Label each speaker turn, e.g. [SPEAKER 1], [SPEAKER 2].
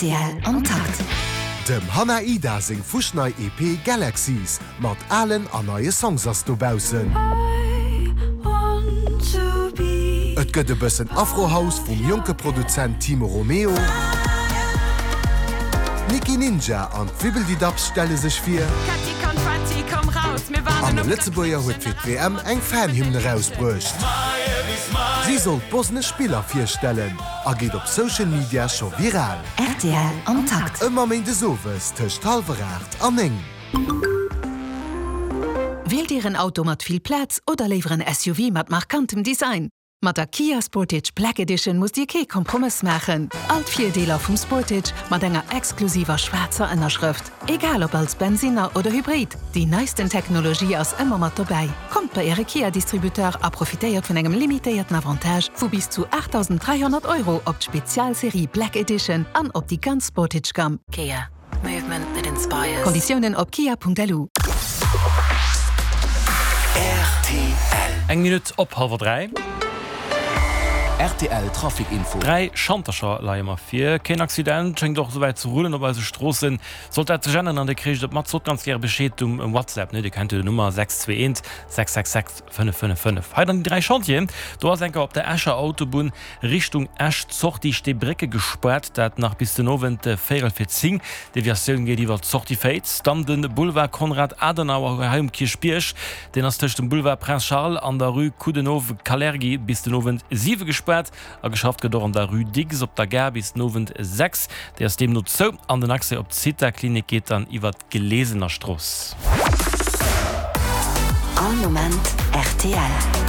[SPEAKER 1] Rtl am Takt.
[SPEAKER 2] Dem Hannah Ida seng fuschnei EP Galaxies mat alen an neie Songs ass dobaussen. Et gëtt e bëssen Afro-House vum jonke Produzent Timo Romeo. D'Nikki Ninja an d'Wibbeldidabs stelle sech vir. An e Lëtzebuerger huet fir d'WM eng Fan-Hymne erausbruecht. Si soll d'bosnesch Spiller virstellen a geet op Social Media scho viral.
[SPEAKER 1] Rtl am Takt.
[SPEAKER 2] Ëmmer méindes owes tëscht hallwer 8 an 9.
[SPEAKER 3] Wielt Dir en Auto mat vill Plaz oder léiwer en SUV mat markantem Design? Mat der Kia Sportage Black Edition musst Dir kee Kompromëss maachen. All d'Virdeeler vum Sportage mat enger exklusiver schwaarzer Ënnerschrëft. Egal ob als Bensinner oder Hybrid, déi neisten Technologie ass ëmmer mat dobäi. Kommt bei Äre Kia-Distributeur a profitéiert vun engem limitéierten Avantage vu bis zu 8.300 Euro op d'Spezialserie Black Edition an op déi ganz Sportage-Gamm.
[SPEAKER 1] Kia. Movement that inspires.
[SPEAKER 3] Konditiounen op kia.lu.
[SPEAKER 4] Rtl.
[SPEAKER 5] Eng Minutt op hallwer 3.
[SPEAKER 4] Rtl Trafic Info.
[SPEAKER 5] 3 Schantercher leie mer vir. Keen Accident schéngt och esouwäit ze rullen op eise Stroossen. Sollt dat sech änneren an Dir kréicht et mat, sot ganz gäre Bescheed um WhatsApp, ne? Dir kennt jo den Nummer 621 666 555. Hei dann déi 3 Chantieren. Do ass enker op der Escher Autobunn Richtung Esch d'Sortie Steebrécke gespaart, dat nach bis den Owend véierel fir 10. Deviatioun geet iwwer d'Sortie Féiz. Dann de Boulevard Konrad Adenauer hei um Kierchbierg, deen ass tëscht dem Boulevard Prince Charles an der Rue Coudenhove-Kalergi bis den Owend 7 gespaart. A geschafft gëtt och an der Rue Dicks op der Gare bis den Owend 6, déi ass deemno zou. An den Accès op d'Zitha-Klinik geet dann iwwer d'Glesener Strooss.
[SPEAKER 1] All Moment rtl.